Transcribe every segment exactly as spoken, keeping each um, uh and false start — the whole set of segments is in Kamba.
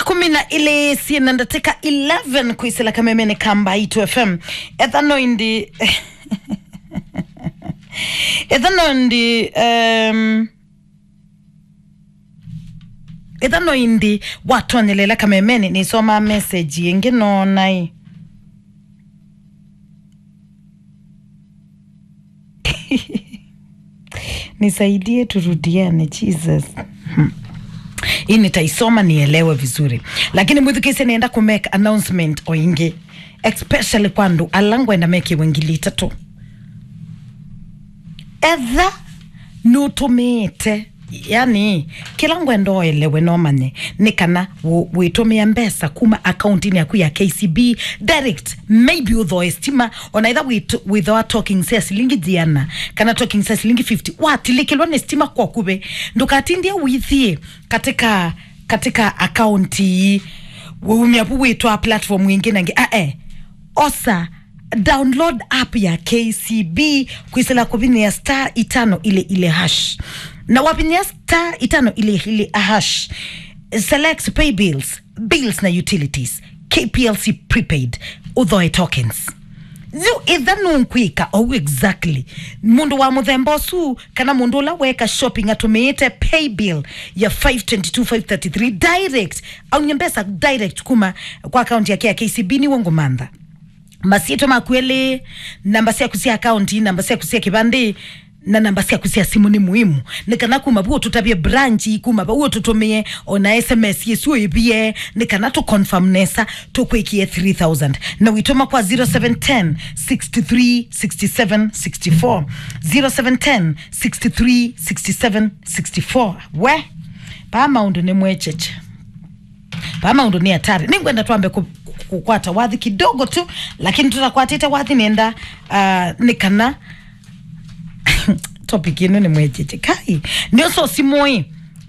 kumi na ilĩ syĩ na ndatĩka eleven kwĩsĩla kamemene ka Mbaitu F M. Etha no indi, etha no indi, um, etha no indi watonyelela kamemene, nĩsomaa message ĩngĩ nonai. Nisaidie turudiane, Jesus. Hmm. Hii nitaisoma nielewe vizuri. Lakini mwĩthukĩĩsye, nĩenda kũ make announcement o ĩngĩ, especially kwa andũ ala ngwenda mekĩwe ngili itatũ. Etha nũtũmĩĩte, yani, kĩla ngwenda ũelewe na ũmanye nĩ kana wũ-, wĩtũmĩa mbesa kuma akauntinĩ yaku ya K C B direct, maybe ũthoe stima, ona ĩtha wĩtũ-, wĩthoa tokens sya silingi ĩana kana tokens sya silingi fifty, watilĩkĩlwa nĩ stima kwa ũkuvĩ, ndũkatindie ũithiĩ katika, katika akaunti ii, wĩumya vu wĩtwaa platform ĩngĩ na ĩngĩ. Ae, osa, download app ya K C B kwĩsĩla kũvinyĩa star itano ilĩ ilĩ hash. Na wavinyĩa star itano ilĩ ilĩ hash, select pay bills, bills na utilities, K P L C prepaid, ũthoe tokens. Yu ĩtha nũkwĩka ou exactly. Mũndũ wa mũthemba ũsu, kana mũndũ ũla weka shopping atũmĩĩte pay bill ya five twenty-two five thirty-three direct, aumye mbesa direct kuma kwa account yake ya K C B, nĩw'o ngũmantha. Masyĩtwa maku elĩ, namba syaku sya akaunti, namba syaku sya kĩvandĩ, na namba syaku sya simũ nĩ muhimu. Nĩ kana kuma vu ũtũtavye branch, kuma vau ũtũtũmĩe ona S M S yĩsu ĩvie, nĩ kana tũ confirm nesa, tũkwĩkie three thousand. Na wĩtũma kwa zero seven ten, six three, six seven, six four. Zero seven ten, six three, six seven, six four. We, paa maũndũ nĩ mwecheche. Paa maũndũ nĩ hatari. Nĩngwenda twambe kũ-, kũ-, kũkwata wathi kidogo tu, lakini tũtakwatĩte wathi nĩenda, ah, nĩ kana topic ĩno nĩ mwecheche. Kai, nĩosa simũ ĩ.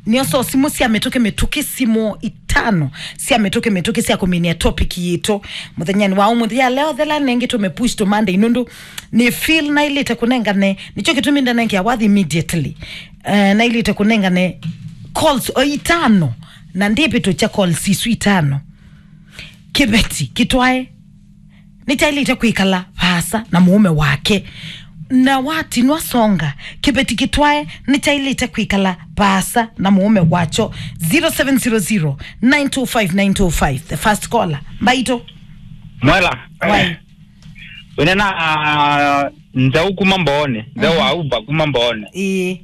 Nĩosa simũ sya mĩtũkĩ mĩtũkĩ, simũ itano sya mĩtũkĩ mĩtũkĩ sya kũminia topic yitũ. Mũthenyanĩ wa ũmũthĩ ya leo, thela nengĩ tũme push to Monday nũndũ nĩ feel nailĩte kũnengane, nĩkyo kĩtumi ndanengea wathi immediately. Eh, nailĩte kũnengane calls o itano, na ndĩvĩtũkya calls isu itano. Kĩveti kĩtwae nĩkyaĩlĩte kwĩkala vaasa na mũũme wake, na watinwa songa, kĩveti kĩtwae nĩkyaĩlĩte kwĩkala vaasa na mũũme wakyo. Zero seven zero zero, nine two five, nine two five. The first caller. Mbaitũ. Mwela. Wai. Wĩnena, ah, Nzau kuma Mbooni. Nzau wa Uber kuma Mbooni. Ĩĩ.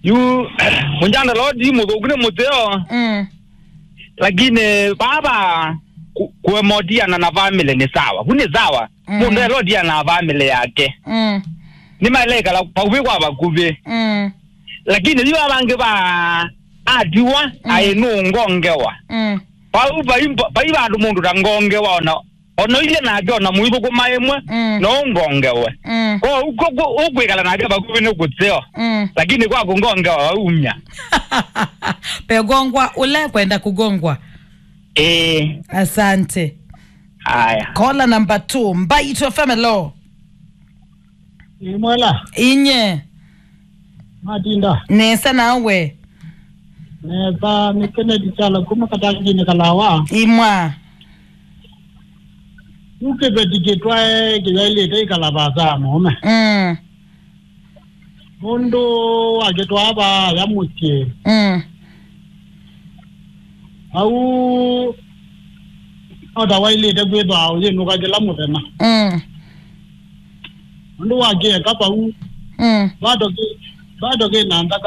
Yu, mũnyanda lodi mũthũku nĩ mũteo. Mm. Lakini baba ku-, kuemotiana na family ni sawa. Vu ni sawa. Mm. Mũndũ elodiana na family yake. Mm. Nĩ maĩle ĩkala vakuvĩ kwa vakuvĩ. Mm. Lakini yu avangĩ va atiwa, mm, aĩ nũngongewa. Mm. Vau vai, vai vandũ mũndũ ta ngongewa ona, ona ilye nake ona mũithũkũma ĩmwe, mm, no ũngongewe. Mm. Kwa ũkwĩkala nake vakuvĩ nĩ kũteo. Mm. Lakini kwa kũngongewa waumya. Pegongwa ũle kwenda kũgongwa. Eh. Asante. Haya. Caller number two, Mbaitũ F M, hello. Ĩ mwela. Inye. Matinda. Nesa nawe. Nesa, nĩ Kennedy Kyalo kuma Katangini Kalawa. Imwa. Yu kĩveti kĩtwae kĩyaĩlĩte ĩkala vaasa ya mũũme. Mm. Nũndũ wakĩtwaa vaaya mũsyĩ. Mm. Au no ta waĩlĩte kwĩthwa ũyĩnũka kĩla mũthenya. Mm. Nũndũ wakĩeka vau, mm, bado kĩ, bado kĩ na nthakame.